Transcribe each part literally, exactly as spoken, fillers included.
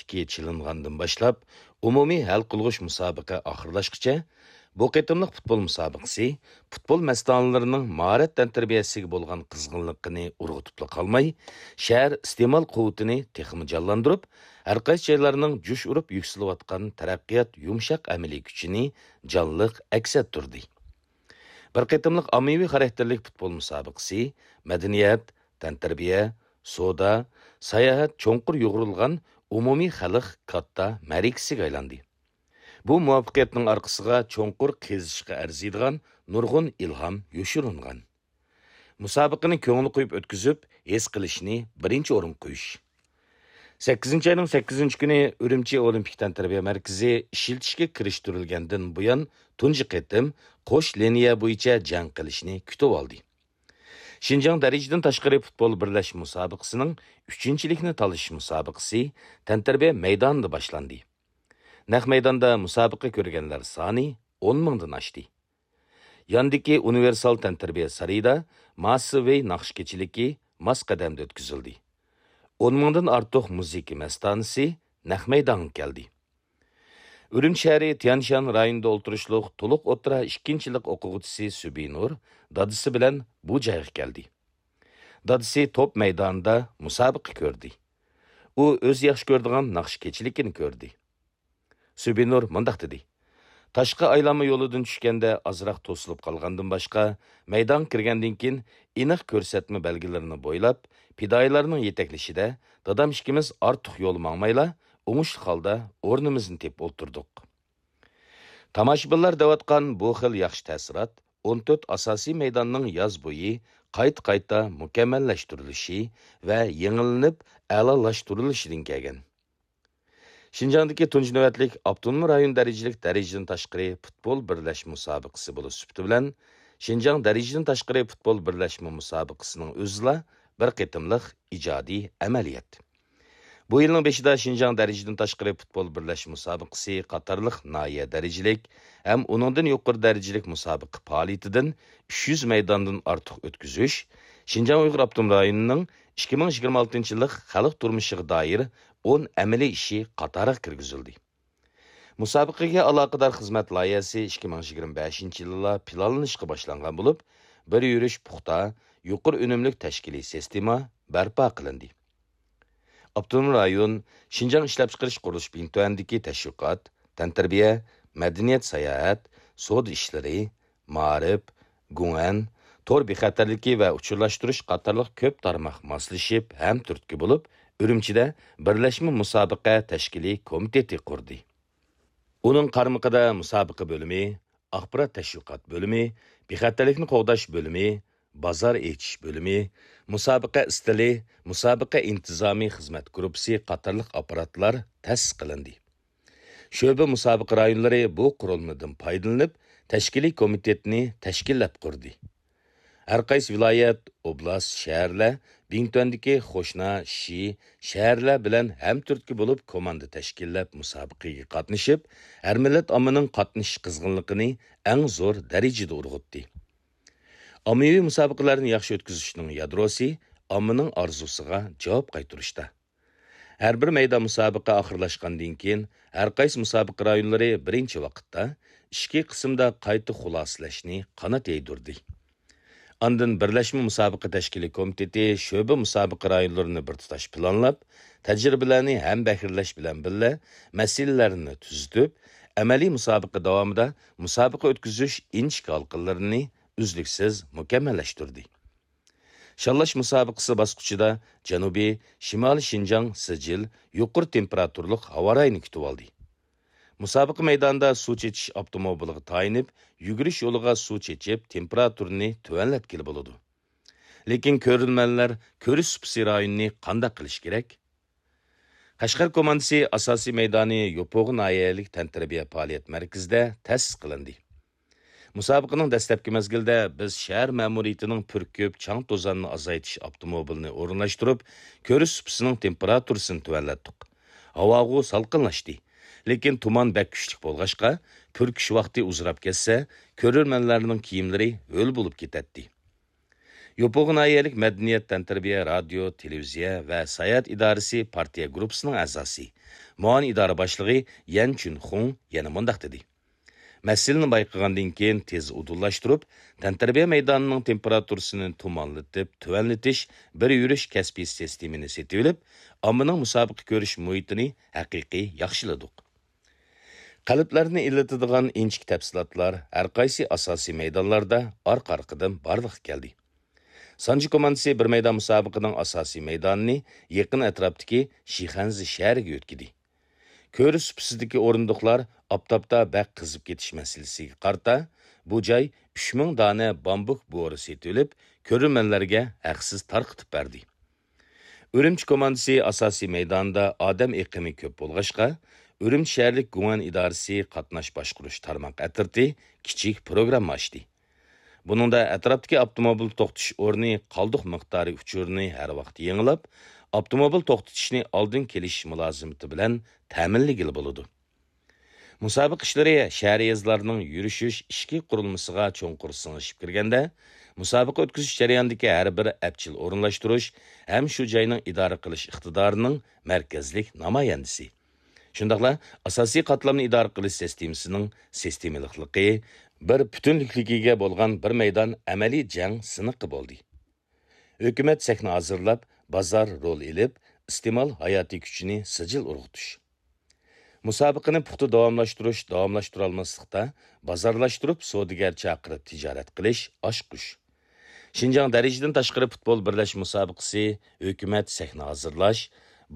ئىككى چېلىنغاندىن باشلاپ، ئومۇمىي ھەل قىلغۇچ مۇسابىقە ئاخىرلاشقىچە، بۇ قېتىملىق پۇتبول مۇسابىقىسى پۇتبول مەستانىلىرىنىڭ ماھارەت تەنتەربىيەسىگە بولغان قىزغىنلىقىنى ئۇرغۇتۇپلا قالماي، شەھەر ئىستېمال قۇۋۋىتىنى تېخىمۇ جانلاندۇرۇپ، ھەرقايسى جايلارنىڭ جۇش ئۇرۇپ يۈكسىلىۋاتقان تەرەققىيات يۇمشاق ئەمەلىي كۈچىنى جانلىق ئەكس ئەتتۈردى. بىر قېتىملىق ئاممىۋى خاراكتېرلىك پۇتبول مۇسابىقىسى مەدەنىيەت، تەنتەربىيە، سودا، ساياھەت چوڭقۇر يۇغۇرۇلغان ئومۇمىي خەلق كاتتا مەرىكىسىگە ئايلاندى. بۇ مۇۋەپپەقىيەتنىڭ ئارقىسىغا چوڭقۇر قېزىشقا ئەرزىيدىغان نۇرغۇن ئىلھام يوشۇرۇنغان. مۇسابىقىنى كۆڭۈل قويۇپ ئۆتكۈزۈپ، ھېس قىلىشنى بىرىنچى ئورۇنغا قويۇش. سەككىزىنچى ئاينىڭ سەككىزىنچى كۈنى ئۈرۈمچى ئولىمپىك تەنتەربىيە مەركىزى ئىشلىتىشكە كىرىشتۈرۈلگەندىن بۇيان تۇنجى قېتىم قوش لىنىيە بويىچە جەڭ قىلىشنى كۈتۈۋالدى. شىنجاڭ دەرىجىدىن تاشقىرى پۇتبول بىرلەشمە مۇسابىقىسىنىڭ ئۈچىنچىلىكنى تالىشىش مۇسابىقىسى تەنتەربىيە مەيدانىدا باشلاندى. نەق مەيداندا مۇسابىقە كۆرگەنلەر سانى ئون مىڭدىن ئاشتى. ياندىكى ئۇنىۋېرسال تەنتەربىيە سارىيىدا ماسسىۋى ناخشا كېچىلىكى ماس قەدەمدە ئۆتكۈزۈلدى. ئون مىڭدىن ئارتۇق مۇزىكا مەستانىسى نەق مەيدانغا كەلدى. ئۈرۈمچى شەھىرى تيەنشان رايونىدا ئولتۇرۇشلۇق تولۇق ئوتتۇرا ئىككىنچىلىق ئوقۇغۇچىسى سۈبىنۇر دادىسى بىلەن بۇ جايغا كەلدى. دادىسى توپ مەيدانىدا مۇسابىقە كۆردى. ئۇ ئۆزى ياخشى كۆرىدىغان ناخشا كېچىلىكىنى كۆردى. سۈبىنۇر مۇنداق دېدى: تاشقى ئايلانما يولىدىن چۈشكەندە ئازراق توسۇلۇپ قالغاندىن باشقا، مەيدانغا كىرگەندىن كېيىن ئېنىق كۆرسەتمە بەلگىلىرىنى بويلاپ، پىدائىيلارنىڭ يېتەكلىشىدە دادام ئىككىمىز ئارتۇق يول ماڭمايلا، ئوڭۇشلۇق ھالدا ئورنىمىزنى تېپىپ ئولتۇردۇق. تاماشىبىنلار دەۋاتقان بۇ خىل ياخشى تەسىرات ئون تۆت ئاساسىي مەيداننىڭ ياز بويى قايتا-قايتا مۇكەممەللەشتۈرۈلۈشى ۋە يېڭىلىنىپ ئەلالاشتۇرۇلۇشىدىن كەلگەن. شىنجاڭدىكى تۇنجى نۆۋەتلىك ئاپتونوم رايون دەرىجىلىك دەرىجىدىن تاشقىرى پۇتبول بىرلەشمە مۇسابىقىسى بولۇش سۈپىتى بىلەن، شىنجاڭ دەرىجىدىن تاشقىرى پۇتبول بىرلەشمە مۇسابىقىسىنىڭ ئۆزىلا بىر قېتىملىق ئىجادىي ئەمەلىيەت. بۇ يىلنىڭ بېشىدا شىنجاڭ دەرىجىدىن تاشقىرى پۇتبول بىرلەشمە مۇسابىقىسى قاتارلىق ناھىيە دەرىجىلىك ھەم ئۇنىڭدىن يۇقىرى دەرىجىلىك مۇسابىقە پائالىيىتىدىن ئۈچ يۈز مەيداندىن ئارتۇق ئۆتكۈزۈش شىنجاڭ ئۇيغۇر ئاپتونوم رايونىنىڭ ئىككى مىڭ يىگىرمە ئالتىنچى يىللىق خەلق تۇرمۇشىغا دائىر ئون ئەمەلىي ئىشى قاتارىغا كىرگۈزۈلدى. مۇسابىقىگە ئالاقىدار خىزمەت لايىھەسى ئىككى مىڭ يىگىرمە بەشىنچى يىلىلا پىلانلىنىشقا باشلانغان بولۇپ، بىر يۈرۈش پۇختا، يۇقىرى ئۈنۈملۈك تەشكىلىي سىستېما بەرپا قىلىندى. ئاپتونوم رايون شىنجاڭ ئىشلەپچىقىرىش قۇرۇلۇش بىڭتۈەندىكى تەشۋىقات، تەنتەربىيە، مەدەنىيەت، ساياھەت، سودا ئىشلىرى، مائارىپ، گۇڭئەن، تور بىخەتەرلىكى ۋە ئۇچۇرلاشتۇرۇش قاتارلىق كۆپ تارماق ماسلىشىپ ھەم تۈرتكە بولۇپ، ئۈرۈمچىدە بىرلەشمە مۇسابىقە تەشكىلىي كومىتېتى قۇردى. ئۇنىڭ قارمىقىدا مۇسابىقە بۆلۈمى، ئاخبارات تەشۋىقات بۆلۈمى، بىخەتەرلىكنى قوغداش بۆلۈمى، بازار ئېچىش بۆلۈمى، مۇسابىقە ئىستىلى، مۇسابىقە ئىنتىزامى خىزمەت گۇرۇپپىسى قاتارلىق ئاپپاراتلار تەسىس قىلىندى. شۆبە مۇسابىقە رايونلىرى بۇ قۇرۇلمىدىن پايدىلىنىپ، تەشكىلىي كومىتېتنى تەشكىللەپ قۇردى. ھەرقايسى ۋىلايەت، ئوبلاست، شەھەرلەر، بىڭتۈەندىكى خوشنا، شى، شەھەرلەر بىلەن ھەمتۈرتكە بولۇپ كوماندا تەشكىللەپ مۇسابىقىگە قاتنىشىپ، ھەر مىللەت ئاممىنىڭ قاتنىشىش قىزغىنلىقىنى ئەڭ زور دەرىجىدە ئۇرغۇتتى. ئاممىۋى مۇسابىقىلەرنى ياخشى ئۆتكۈزۈشنىڭ يادروسى ئاممىنىڭ ئارزۇسىغا جاۋاب قايتۇرۇشتا. ھەر بىر مەيدان مۇسابىقە ئاخىرلاشقاندىن كېيىن، ھەرقايسى مۇسابىقە رايونلىرى بىرىنچى ۋاقىتتا ئىچكى قىسىمدا قايتا خۇلاسىلەشنى قانات يايدۇردى. ئاندىن بىرلەشمە مۇسابىقە تەشكىلىي كومىتېتى شۆبە مۇسابىقە رايونلىرىنى بىر تۇتاش پىلانلاپ، تەجرىبىلەرنى ھەمبەھىرلەش بىلەن بىللە مەسىلىلەرنى تۈزىتىپ، ئەمەلىي مۇسابىقە داۋامىدا مۇسابىقە ئۆتكۈزۈش ئىنچىكە ھالقىلىرىنى ئۈزلۈكسىز مۇكەممەللەشتۈردى. شاللاش مۇسابىقىسى باسقۇچىدا جەنۇبىي، شىمالىي شىنجاڭ سىجىل يۇقىرى تېمپېراتۇرىلىق ھاۋا رايىنى كۈتۈۋالدى. مۇسابىقە مەيدانىدا سۇ چېچىش ئاپتوموبىلىغا تايىنىپ، يۈگۈرۈش يولىغا سۇ چېچىپ، تېمپېراتۇرىنى تۆۋەنلەتكىلى بولىدۇ. لېكىن كۆرۈرمەنلەر كۆرۈش سۇپىسى رايونىنى قانداق قىلىش كېرەك؟ قەشقەر كوماندىسى ئاساسىي مەيدانى يوپۇرغا ناھىيەلىك تەنتەربىيە پائالىيەت مەركىزىدە تەسىس قىلىندى. مۇسابىقىنىڭ دەسلەپكى مەزگىلىدە بىز شەھەر مەمۇرىيىتىنىڭ پۈركۈپ، چاڭ-توزاننى ئازايتىش ئاپتوموبىلىنى ئورۇنلاشتۇرۇپ، كۆرۈش سۇپىسىنىڭ تېمپېراتۇرىسىنى تۆۋەنلەتتۇق. ھاۋاغۇ سالقىنلاشتى. لېكىن تۇمان بەك كۈچلۈك بولغاچقا، پۈركۈش ۋاقتى ئۇزىراپ كەتسە، كۆرۈرمەنلەرنىڭ كىيىملىرى ھۆل بولۇپ كېتەتتى. يوپۇرغا ناھىيەلىك مەدەنىيەت، تەنتەربىيە، رادىيو، تېلېۋىزىيە ۋە ساياھەت ئىدارىسى پارتىيە گۇرۇپپىسىنىڭ ئەزاسى، مۇئاۋىن ئىدارە باشلىقى يەن چۈنخۇڭ يەنە مۇنداق دېدى: مەسىلىنى بايقىغاندىن كېيىن تېز ئۇدۇللاشتۇرۇپ، تەنتەربىيە مەيدانىنىڭ تېمپېراتۇرىسىنى تۇمانلىتىپ تۆۋەنلىتىش بىر يۈرۈش كەسپىي سىستېمىنى سېتىۋېلىپ، ئاممىنىڭ مۇسابىقە كۆرۈش مۇھىتىنى ھەقىقىي ياخشىلىدۇق. قەلبلەرنى ئىللىتىدىغان ئىنچىكە تەپسىلاتلار ھەرقايسى ئاساسىي مەيدانلاردا ئارقا-ئارقىدىن بارلىققا كەلدى. سانجى كوماندىسى بىر مەيدان مۇسابىقىنىڭ ئاساسىي مەيدانىنى يېقىن ئەتراپتىكى شىخەنزې شەھىرىگە يۆتكىدى. كۆرۈش سۇپىسىدىكى ئورۇندۇقلار ئاپتاپتا بەك قىزىپ كېتىش مەسىلىسىگە قارىتا، بۇ جاي ئۈچ مىڭ دانە بامبۇك بورى سېتىۋېلىپ، كۆرۈرمەنلەرگە ھەقسىز تارقىتىپ بەردى. ئۈرۈمچى كوماندىسى ئاساسىي مەيدانىدا ئادەم ئېقىمى كۆپ بولغاچقا، ئۈرۈمچى شەھەرلىك گۇڭئەن ئىدارىسى قاتناش باشقۇرۇش تارماق ئەترىتى كىچىك پروگرامما ئاچتى. بۇنىڭدا ئەتراپتىكى ئاپتوموبىل توختىتىش ئورنى قالدۇق مىقدارى ئۇچۇرىنى ھەر ۋاقىت يېڭىلاپ، ئاپتوموبىل توختىتىشنى ئالدىن كېلىش مۇلازىمىتى بىلەن تەمىنلىگىلى بولىدۇ. مۇسابىقە ئىشلىرى شەھەر يېزىلارنىڭ يۈرۈشۈش ئىچكى قۇرۇلمىسىغا چوڭقۇر سىڭىشىپ كىرگەندە، مۇسابىقە ئۆتكۈزۈش جەريانىدىكى ھەر بىر ئەپچىل ئورۇنلاشتۇرۇش ھەم شۇ جاينىڭ ئىدارە قىلىش ئىقتىدارىنىڭ مەركەزلىك نامايەندىسى، شۇنداقلا ئاساسىي قاتلامنى ئىدارە قىلىش سىستېمىسىنىڭ سىستېمىلىقلىقى، بىر پۈتۈنلۈكلۈكىگە بولغان بىر مەيدان ئەمەلىي جەڭ سىنىقى بولدى. ھۆكۈمەت سەھنە ھازىرلاپ، بازار رول ئېلىپ، ئىستېمال ھاياتىي كۈچىنى سىجىل ئۇرغۇتۇش. مۇسابىقىنى پۇختا داۋاملاشتۇرۇش، داۋاملاشتۇرالماسلىقتا بازارلاشتۇرۇپ، سودىگەر چاقىرىپ تىجارەت قىلىش، ئاچقۇچ. شىنجاڭ دەرىجىدىن تاشقىرى پۇتبول بىرلەشمە مۇسابىقىسى ھۆكۈمەت سەھنە ھازىرلاش،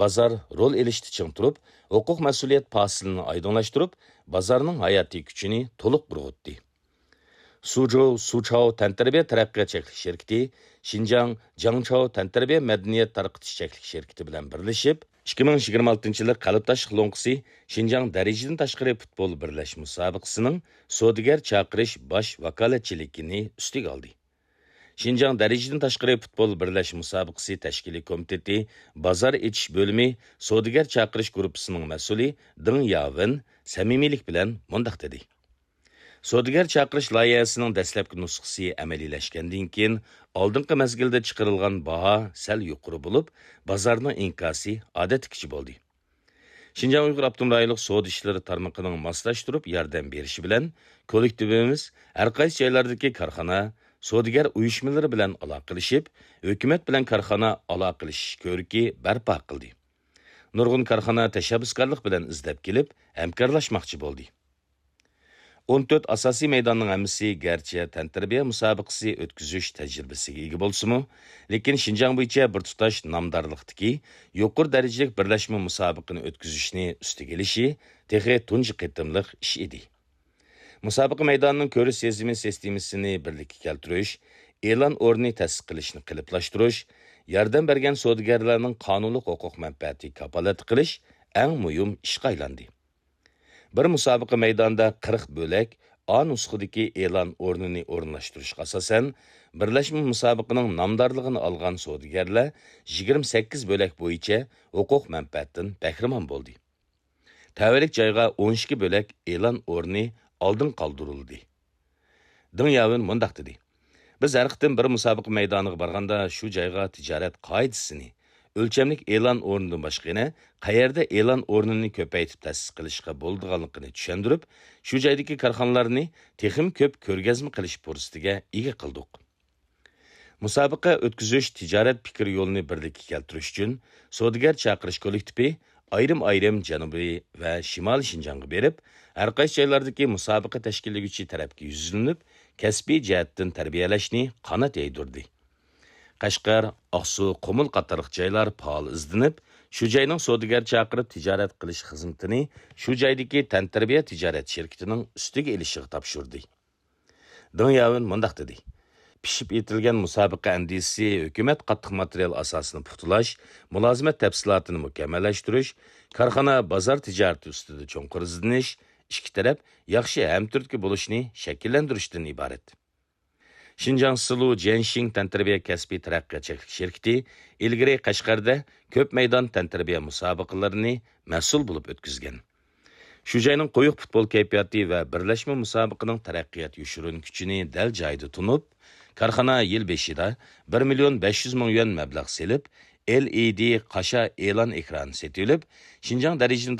بازار رول ئېلىشتا چىڭ تۇرۇپ، ھوقۇق مەسئۇلىيەت پاسىلىنى ئايدىڭلاشتۇرۇپ، بازارنىڭ ھاياتىي كۈچىنى تولۇق ئۇرغۇتتى. سۇجوۋ سۇچاۋ تەنتەربىيە تەرەققىيات چەكلىك شىركىتى شىنجاڭ جاڭچاۋ تەنتەربىيە مەدەنىيەت تارقىتىش چەكلىك شىركىتى بىلەن بىرلىشىپ، ئىككى مىڭ يىگىرمە ئالتىنچى يىلى قەلبداشلىق لوڭقىسى شىنجاڭ دەرىجىدىن تاشقىرى پۇتبول بىرلەشمە مۇسابىقىسىنىڭ سودىگەر چاقىرىش باش ۋاكالەتچىلىكىنى ئۈستىگە ئالدى. شىنجاڭ دەرىجىدىن تاشقىرى پۇتبول بىرلەشمە مۇسابىقىسى تەشكىلىي كومىتېتى بازار ئېچىش بۆلۈمى سودىگەر چاقىرىش گۇرۇپپىسىنىڭ مەسئۇلى دېڭ ياۋېن سەمىمىيلىك بىلەن مۇنداق دېدى: سودىگەر چاقىرىش لايىھەسىنىڭ دەسلەپكى نۇسخىسى ئەمەلىيلەشكەندىن كېيىن، ئالدىنقى مەزگىلدە چىقىرىلغان باھا سەل يۇقىرى بولۇپ، بازارنىڭ ئىنكاسى ئادەتتىكىچە بولدى. شىنجاڭ ئۇيغۇر ئاپتونوم رايونلۇق سودا ئىشلىرى تارمىقىنىڭ ماسلاشتۇرۇپ ياردەم بېرىشى بىلەن، كوللېكتىپىمىز ھەرقايسى جايلاردىكى كارخانا، سودىگەر ئۇيۇشمىلىرى بىلەن ئالاقىلىشىپ، ھۆكۈمەت بىلەن كارخانا ئالاقىلىشىش كۆرۈكى بەرپا قىلدى. نۇرغۇن كارخانا تەشەببۇسكارلىق بىلەن ئىزدەپ كېلىپ، ھەمكارلاشماقچى بولدى. ئون تۆت ئاساسىي مەيداننىڭ ھەممىسى گەرچە تەنتەربىيە مۇسابىقىسى ئۆتكۈزۈش تەجرىبىسىگە ئىگە بولسىمۇ، لېكىن شىنجاڭ بويىچە بىر تۇتاش نامدارلىقتىكى يۇقىرى دەرىجىلىك بىرلەشمە مۇسابىقىنى ئۆتكۈزۈشنى ئۈستىگە ئېلىشى تېخى تۇنجى قېتىملىق ئىش ئىدى. مۇسابىقە مەيدانىنىڭ كۆرۈش سېزىمى سىستېمىسىنى بىرلىككە كەلتۈرۈش، ئېلان ئورنى تەسىس قىلىشنى قېلىپلاشتۇرۇش، ياردەم بەرگەن سودىگەرلەرنىڭ قانۇنلۇق ھوقۇق مەنپەئەتى كاپالەتلىك قىلىش ئەڭ مۇھىم ئىشقا ئايلاندى. بىر مۇسابىقە مەيدانىدا قىرىق بۆلەك ئا نۇسخىدىكى ئېلان ئورنىنى ئورۇنلاشتۇرۇشقا ئاساسەن، بىرلەشمە مۇسابىقىنىڭ نامدارلىقىنى ئالغان سودىگەرلەر يىگىرمە سەككىز بۆلەك بويىچە ھوقۇق مەنپەئەتتىن بەھرىمەن بولدى. تەۋەلىك جايغا ئون ئىككى بۆلەك ئېلان ئورنى ئالدىن قالدۇرۇلدى. دېڭ ياۋېن مۇنداق دېدى: بىز ھەر قېتىم بىر مۇسابىقە مەيدانىغا بارغاندا، شۇ جايغا تىجارەت قائىدىسىنى، ئۆلچەملىك ئېلان ئورنىدىن باشقا يەنە قەيەردە ئېلان ئورنىنى كۆپەيتىپ تەسىس قىلىشقا بولىدىغانلىقىنى چۈشەندۈرۈپ، شۇ جايدىكى كارخانىلارنى تېخىمۇ كۆپ كۆرگەزمە قىلىش پۇرسىتىگە ئىگە قىلدۇق. مۇسابىقە ئۆتكۈزۈش تىجارەت پىكىر يولىنى بىرلىككە كەلتۈرۈش ئۈچۈن، سودىگەر چاقىرىش كوللېكتىپى ئايرىم-ئايرىم جەنۇبىي ۋە شىمالىي شىنجاڭغا بېرىپ، ھەرقايسى جايلاردىكى مۇسابىقە تەشكىللىگۈچى تەرەپكە يۈزلىنىپ، كەسپىي جەھەتتىن تەربىيەلەشنى قانات يايدۇردى. قەشقەر، ئاقسۇ، قۇمۇل قاتارلىق جايلار پائال ئىزدىنىپ، شۇ جاينىڭ سودىگەر چاقىرىپ تىجارەت قىلىش خىزمىتىنى شۇ جايدىكى تەنتەربىيە تىجارەت شىركىتىنىڭ ئۈستىگە ئېلىشىغا تاپشۇردى. دېڭ ياۋېن مۇنداق دېدى: پىشىپ يېتىلگەن مۇسابىقە ئەندىزىسى، ھۆكۈمەت قاتتىق ماتېرىيال ئاساسىنى پۇختىلاش، مۇلازىمەت تەپسىلاتىنى مۇكەممەللەشتۈرۈش، كارخانا بازار تىجارىتى ئۈستىدە چوڭقۇر ئىزدىنىش، ئىككى تەرەپ ياخشى ھەمتۈرتكە بولۇشنى شەكىللەندۈرۈشتىن ئىبارەت. شىنجاڭ سىلۇ جيەنشىڭ تەنتەربىيە كەسپىي تەرەققىيات چەكلىك شىركىتى ئىلگىرى قەشقەردە كۆپ مەيدان تەنتەربىيە مۇسابىقىلىرىنى مەسئۇل بولۇپ ئۆتكۈزگەن. شۇ جاينىڭ قويۇق پۇتبول كەيپىياتى ۋە بىرلەشمە مۇسابىقىنىڭ تەرەققىيات يوشۇرۇن كۈچىنى دەل جايىدا تونۇپ، كارخانا يىل بېشىدا بىر مىليون بەش يۈز مىڭ يۈەن مەبلەغ سېلىپ، ئېل ئى دى قاشا ئېلان ئېكرانى سېتىۋېلىپ، شىنجاڭ دەرىجىدىن